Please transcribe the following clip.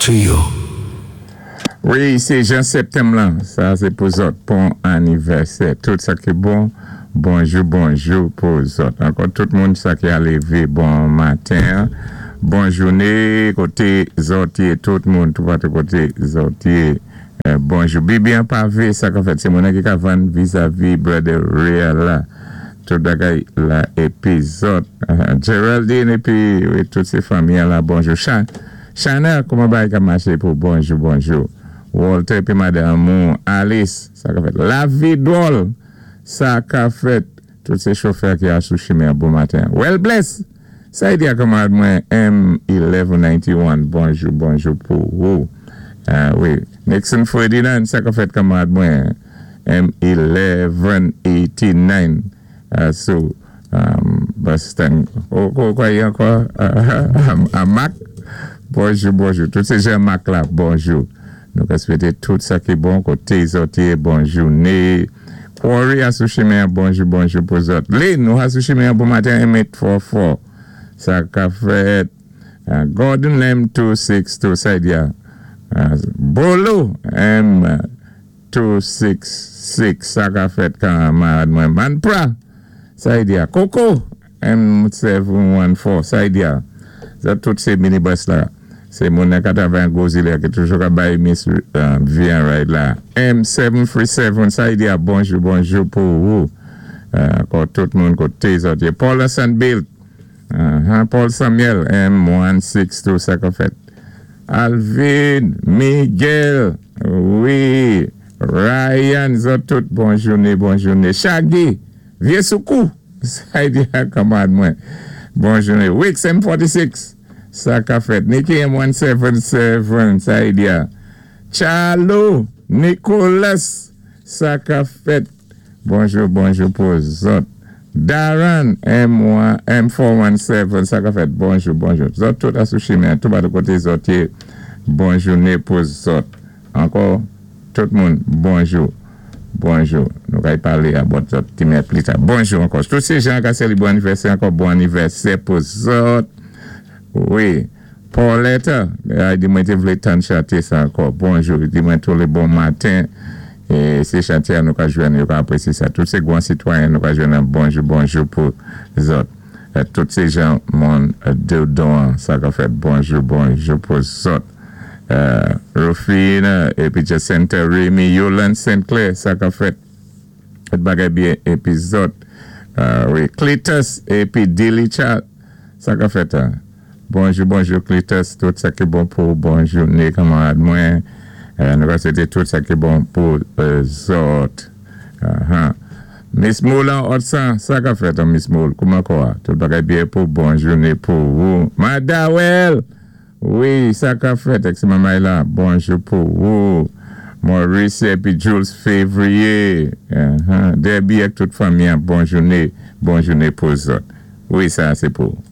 to you. Wi, sé Jan Septanm lan, sa sé pou zòt, bon anivèsè. Tout sa ki bon, bonjou bonjou pou zòt. Ankò tout moun sa ki a lévé bon maten, bon jouné, koté zòt yé, tout moun toupatou koté zòt yé. Bonjou. Bibi an pavé, sa ka fèt, sé moun ki ka vann vizavi Brother Real la. Tout bagay la épi zòt. Geraldine épi wi, tout sé fanmi an la, bonjou. Chanel, kouman bagay ka maché pou bonjou bonjou. Walter épi madanm ou Alice, sa ka fèt. Lavi dwòl, sa ka fèt. Tout sé chofè ki a sou chimen bon maten. Well bless! Sa y di a kanmarad mwen M1191, bonjou bonjou pou ou. Wi, Nixon Ferdinand, sa ka fèt kanmarad mwen M1189 sou Boston. Ou kwa y ankò? A Mac? Bonjou, bonjou. Tout sé Jean-Marc la, bonjou. Nou ka swété tout sa ki bon koté zòt yé, bon jouné. Quarry a sou chimen, bonjou, bonjou pou zòt. Lynn, nou a sou chimen bon maten, M844. Sa ka fèt. Gordon M262, sa y di a. Bolo M266, sa ka fèt kanmarad mwen. Manpra, sa y di a. Coco M714, sa y di a. Sa tout sé minibus la. Sé moun nan ka travay an gwo zilè ki toujou ka bay Miss Vian ride la. M737, sa y di a, bonjou, bonjou pou ou. Ankò tout moun koté zòt yé. Paul Sandbilt, Paul Samuel, M162, sa ka fèt. Alvin, Miguel, wi, Ryan, zòt tout, bon jouné, bon jouné. Shaggy, vyé soukou, sa y di a kanmarad mwen. Bon jouné. Wix M46, sa ka fèt. Nicky M177, sa y di a. Charlo, Nicolas, sa ka fèt. Bonjou, bonjou pou zòt. Darren M1, M417, sa ka fèt. Bonjou, bonjou. Zòt tout a sou chimen, tout ba de koté zòt yé. Bon jouné pou zòt. Ankò, tout moun, bonjou. Bonjou. Nou kay palé about zòt ti mè pli ta. Bonjou ankò. Tout sé jan ka seli bon anivèsè ankò, bon anivèsè pou zòt. Wi. Paulette, ay di mwen té vlé tann chanté sa ankò. Bonjou. Di mwen tou lé bon maten. É sé chanté a nou ka jwenn, yo ka aprésyé sa. Tout sé gwan sitwayen nou ka jwenn an bonjou bonjou pou zòt. Tout sé jan moun Dodon sa ka fèt bonjou bonjou pou zòt. Rufine épi Jacinta Remy Yolande Saint Clair sa ka fèt. Tout bagay byen épi zòt. Wi Cletus épi Dilly Chat sa ka fèt. Bonjou bonjou Cletus, tout sa ki bon pou bon jouné kanmarad mwen. Nou ka swété tout sa ki bon pou zòt. Miss Moule an Otsan, sa ka fèt an Miss Moule, kouman kò a? Tout bagay byen pou bon jouné pou ou. Madawel! Wi, sa ka fèt, ex mamay la, bonjou pou ou. Maurice épi Jules Février, Debbie ak tout fanmi an, bon jouné, bon jouné pou zòt. Wi, sa sé pou ou.